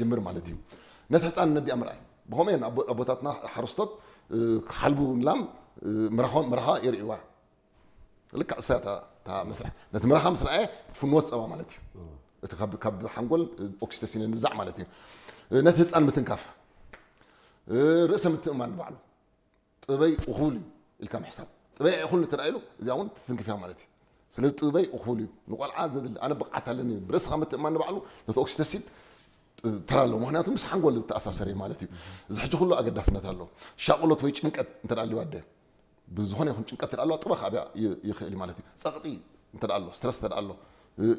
ጀምር ማለት እዩ። ነቲ ህፃን ነዲኣ ምርኣይ ብኸምኡ እዮም ኣቦታትና ሓረስቶት ክሓልቡ ንላም ምራኾም ምራኻ የርእዋ። ልክዕ እሳ እታ መስርሕ ነቲ ምራኻ ምስ ረኣየ ትፍንወት ፀባ ማለት እዩ። እቲ ካብ ሓንጎል ኦክሲቶሲን ንዛዕ ማለት እዩ። ነቲ ህፃን ምትንካፍ፣ ርእሰ ምትእማን ንባዕሉ ጥበይ እኹል እዩ ኢልካ ምሕሳብ። ጥበይ ኣይኹል እንተ ኢሉ እዚኣ እውን ትትንክፍያ ማለት እዩ። ስለዚ ጥበይ እኹል እዩ፣ ንቆልዓ ዘድሊ ኣነ ብቕዓት ኣለኒ፣ ብርእስኻ ምትእማን ንባዕሉ ነቲ ኦክሲቶሲን ተራ ኣለዎ። ምክንያቱ ምስ ሓንጎል ዝተኣሳሰረ እዩ ማለት እዩ። እዚ ሕጂ ኩሉ ኣገዳስነት ኣለዎ። ሻቕሎት ወይ ጭንቀት እንተ ኣልዋ ኣደ ብዝኾነ ይኹን ጭንቀት እንተ ኣለዋ ጥበ ክኣብያ ይኽእል እዩ ማለት እዩ። ፀቕጢ እንተ ኣሎ፣ ስትረስ እንተ ኣሎ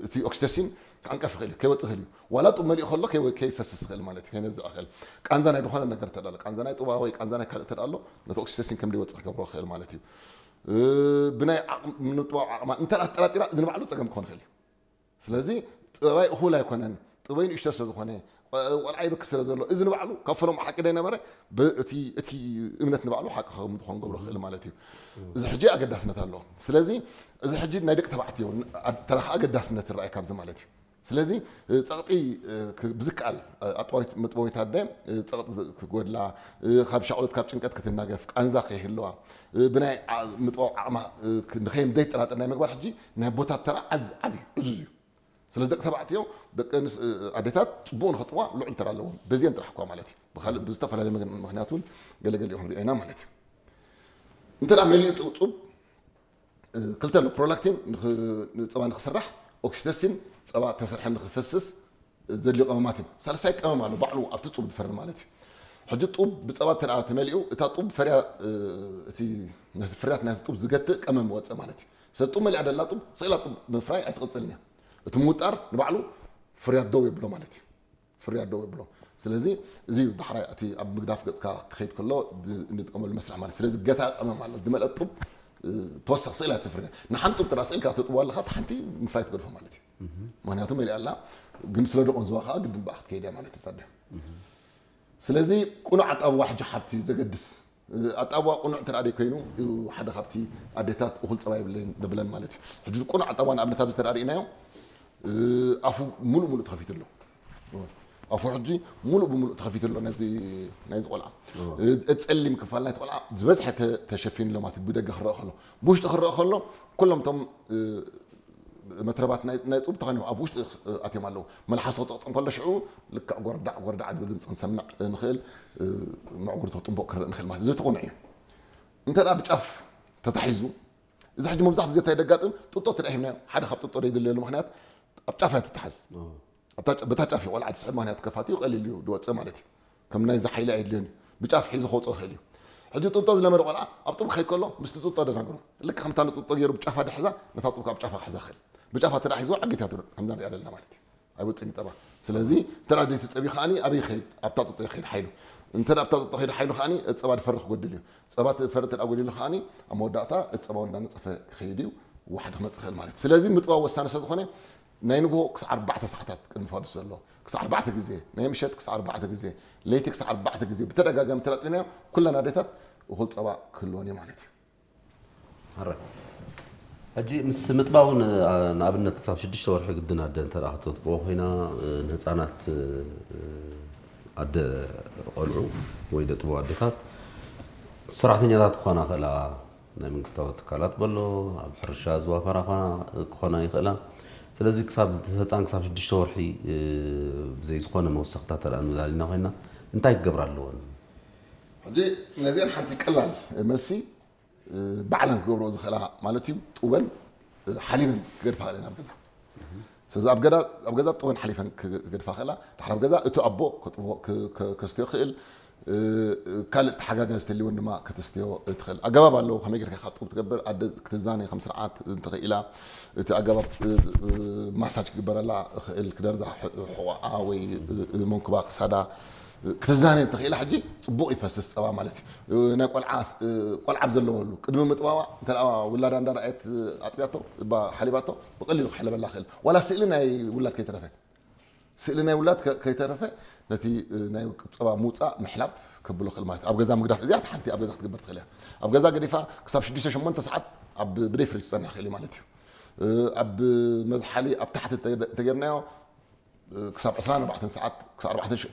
እቲ ኦክሲቶሲን ክዕንቀፍ ይኽእል እዩ፣ ከይወፅእ ይኽእል እዩ። ዋላ ጡብ መሊኡ ከሎ ከይፈስስ ይኽእል ማለት እዩ፣ ከይነዝዕ ይኽእል። ቃንዛ ናይ ዝኾነ ነገር እንተ ኣሎ፣ ቃንዛ ናይ ጡባ ወይ ቃንዛ ናይ ካልእ እንተ ኣሎ ነቲ ኦክሲቶሲን ከም ዘይወፅእ ክገብሮ ይኽእል ማለት እዩ። ብናይ ምጥባው ዓቕማ እንተ ኣጠራጢራ እዚ ንባዕሉ ፀገም ክኾን ይኽእል እዩ። ስለዚ ጥበባይ እኹል ኣይኮነን፣ ጥበይ ንእሽቶ ስለ ዝኾነ ቆልዓ ይበኪ ስለ ዘሎ እዚ ንባዕሉ ካብ ፈለሙ ሓቂ ዳይነበረ እቲ እምነት ንባዕሉ ሓቂ ከም ዝኾን ገብሮ ክእል ማለት እዩ። እዚ ሕጂ ኣገዳስነት ኣለዎ። ስለዚ እዚ ሕጂ ናይ ደቂ ተባዕትዮ ተራኻ ኣገዳስነት ይረኣይ ካብዚ ማለት እዩ። ስለዚ ፀቕጢ ብዝከኣል ኣጥባዊት መጥበዊት ኣደ ፀቕጢ ክጎድላ፣ ካብ ሻቕሎት ካብ ጭንቀት ክትናገፍ፣ ቃንዛ ከይህልዋ፣ ብናይ ምጥባው ዓቕማ ንኸይም ዘይጠራጥር ናይ ምግባር ሕጂ ናይ ኣቦታት ተራ ዓዝ ዓብዩ ዕዙዝ እዩ። ስለዚ ደቂ ተባዕትዮ ደቂ ኣዴታት ፅቡቅ ንኸጥዋ ልዑል ተራ ኣለዎም። በዚአን ጥራሕ እኳ ማለት እዩ። ብዝተፈላለየ ምክንያት እውን ገለገለ ይኹን ሪኦና ማለት እዩ። እንተ መሊኡ ጡብ ክልተ ኣሎ። ፕሮላክቲን ፀባ ንክስራሕ፣ ኦክሲቶሲን ፀባ ተሰርሐ ንክፈስስ ዘድልዩ ቀመማት እዮም። ሳልሳይ ቀመም ኣሎ ባዕሉ ኣብቲ ጡብ ዝፈሪ ማለት እዩ። ሕጂ ጡብ ብፀባ ተመሊኡ እታ ጡብ ፈርያ ነቲ ፍርያት ናይቲ ጡብ ዝገትእ ቀመም ወፀ ማለት እዩ። ስለዚ ጡብ መሊኣ ደላ ጡብ ስኢላ ጡብ ምፍራይ ኣይትቕፅልን እያ። እቲ ምውጣር ንባዕሉ ፍርያት ደው የብሎ ማለት እዩ። ፍርያት ደው የብሎ። ስለዚ እዚ እዩ ዳሕራይ እቲ ኣብ ምግዳፍ ገፅካ ክኸይድ ከሎ እንጥቀመሉ መስርሕ ማለት። ስለዚ ገታ ቀመም ኣሎ ዝመለጥ ጡብ ተወሰኽ ስኢላ ትፍርያ። ንሓንቲ ጡብ ጥራ ስኢልካ ትጥዋ ኣለኻ፣ እቲ ሓንቲ ምፍራይ ትገድፎ ማለት እዩ። ምክንያቱ መሊኣ ኣላ፣ ግን ስለ ደቆን ዝዋ ከዓ ግድን ብኣ ክትከይድ እያ ማለት እዩ። ስለዚ ቁኑዕ ኣጣብዋ ሕጂ ሓብቲ ዘገድስ ኣጣብዋ ቁኑዕ እንተ ደኣ ኮይኑ ሓደ ካብቲ ኣዴታት እኹል ፀባ የብለይን ደብለን ማለት እዩ። ሕጂ ቁኑዕ ኣጣብዋ ንኣብነት ኣብዚ ተደኣ ርኢናዮ ኣፉ ሙሉእ ሙሉእ ተኸፊቱ ኣሎ። ኣፉ ሕጂ ሙሉእ ብሙሉእ ተኸፊቱ ኣሎ ናይዚ ቆልዓ። ጸሊም ክፋል ናይቲ ቆልዓ ዝበዝሐ ተሸፊኑ ኣሎ ማለት ብደገ ክረአ ከሎ። ብውሽጢ ክረአ ከሎ ኩሎም እቶም መትረባት ናይ ጡብ ተኸኒቦም ኣብ ውሽጢ ኣትዮም ኣለዉ። መልሓሱ ክጥቕጥም ከሎ ሽዑ ልክዕ ጎርዳዕ ጎርዳዕ ዝብል ድምፂ ክንሰምዕ ንኽእል፣ መዕጉርቲ ክጥንቦቕ ክረእ ንኽእል ማለት እዚ እቲ ቁኑዕ እዩ። እንተ ደኣ ብጫፍ ተታሒዙ፣ እዚ ሕጂ መብዛሕትኡ ግዜ እንታይ ደጋጥም፣ ጡጦ እንተ ደኣ ሂብናዮ ሓደ ካብ ጡጦ ዘይድለየሉ ምኽንያት ኣብ ጫፍ እያ ትተሓዝ። በታ ጫፍ እዩ ቆልዓ ዝስሕብ፣ ምኽንያቱ ከፋትኡ ቀሊል እዩ ዝወፅእ ማለት እዩ። ከም ናይዚ ሓይሊ ኣየድልዮን እዩ። ብጫፍ ሒዙ ከውፅኦ ይኽእል እዩ። ሕጂ ጡጦ ዝለመደ ቆልዓ ኣብ ጡብ ክኸይድ ከሎ ምስቲ ጡጦ ደናግሮ። ልክዕ ከምታ ንጡጦ ገይሩ ብጫፋ ድሕዛ ነታ ጡብ ካብ ጫፋ ክሕዛ ይኽእል። ብጫፋ ተደኣ ሒዝዋ ዓጊታ ትብል ከምዛ ንሪኣ ዘለና ማለት እዩ። ኣይወፅእን እዩ ፀባ። ስለዚ እንተ ደኣ ዘይትጠቢ ከዓኒ ኣበይ ይኸይድ? ኣብታ ጡጦ ይኸይድ ሓይሉ። እንተ ደኣ ኣብታ ጡጦ ከይዱ ሓይሉ ከዓኒ ፀባ ዝፈሪ ክጎድል እዩ። ፀባ ትፈሪ እንተ ደኣ ጎዲሉ ከዓኒ ኣብ መወዳእታ እቲ ፀባ እንዳነፀፈ ክኸይድ እዩ። ዋሕዲ ክመፅእ ይኽእል ማለት እዩ። ስለዚ ምጥባው ወሳኒ ስለ ዝኾነ ናይ ንግሆ ክሳዕ ኣርባዕተ ሰዓታት ቅድሚ ፋዱስ ዘሎ ክሳዕ ኣርባዕተ ግዜ፣ ናይ ምሸት ክሳዕ ኣርባዕተ ግዜ፣ ለይቲ ክሳዕ ኣርባዕተ ግዜ ብተደጋጋሚ ተላጥቢናዮ ኩለን ኣዴታት እኹል ፀባ ክህልወን እዩ ማለት እዩ። ሕራይ። ሕጂ ምስ ምጥባው ንኣብነት ክሳብ ሽዱሽተ ወርሒ ግድን ኣደ እንተ ደኣ ከተጥብዎ ኮይና ንህፃናት ኣደ ቆልዑ ወይ ደጥበው ኣዴታት ሰራሕተኛታት ክኾና ክእላ ናይ መንግስታዊ ትካላት በሎ ኣብ ሕርሻ ዝዋፈራ ክኾና ይኽእላ። ስለዚ ክሳብ ህፃን ክሳብ ሽዱሽተ ወርሒ ብዘይ ዝኾነ መወሰኽታ ተደኣ ንላልና ኮይና እንታይ ክገብራ ኣለወን? ሕጂ ነዚአን ሓንቲ ቀላል መልሲ ባዕለን ክገብርኦ ዝኽእላ ማለት እዩ። ጡበን ሓሊበን ክገድፋ ክእለን ኣብ ገዛ። ስለዚ ኣብ ገዛ ጡበን ሓሊፈን ክገድፋ ክእላ። ድሓር ኣብ ገዛ እቲ ኣቦ ከስትዮ ክእል፣ ካልእ ተሓጋጋዚ ተልይወን ድማ ከተስትዮ ትኽእል ኣገባብ ኣለዎ። ከመይ ጌርካ ኢኻ ጡብ ትገብር? ኣደ ክትዛነ ከም ስርዓት እንተኽኢላ እቲ ኣገባብ ማሳጅ ክግበረላ ክእል፣ ክደርዛ ሕቆኣ ወይ መንኩባ ክሳዳ ክትዛነ እንተኽኢላ ሕጂ ፅቡቕ ይፈስስ ፀባ ማለት እዩ። ናይ ቆልዓ ቆልዓ ኣብ ዘለወሉ ቅድሚ ምጥባዋ እንተ ውላዳ እንዳረኣየት ኣጥቢያቶ ሓሊባቶ ብቐሊሉ ክሕለበላ ክእል። ዋላ ስእሊ ናይ ውላድ ከይተረፈ ስእሊ ናይ ውላድ ከይተረፈ ነቲ ናይ ጸባ ምውጻእ ምሕላብ ከብሎ ክእል ማለት ኣብ ገዛ ምግዳፍ እዚኣ ሓንቲ ኣብ ገዛ ክትግበር ትኽእል እያ። ኣብ ገዛ ገዲፋ ክሳብ ሽዱሽተ ሸሞንተ ሰዓት ኣብ ብደይ ፍሪጅ ክጸንሕ ክእል ማለት እዩ። ኣብ መዝሓሊ ኣብ ታሕቲ እንተጌርናዮ ክሳብ ዕስራን ኣርባዕተን ሰዓት ክሳብ ኣርባዕተ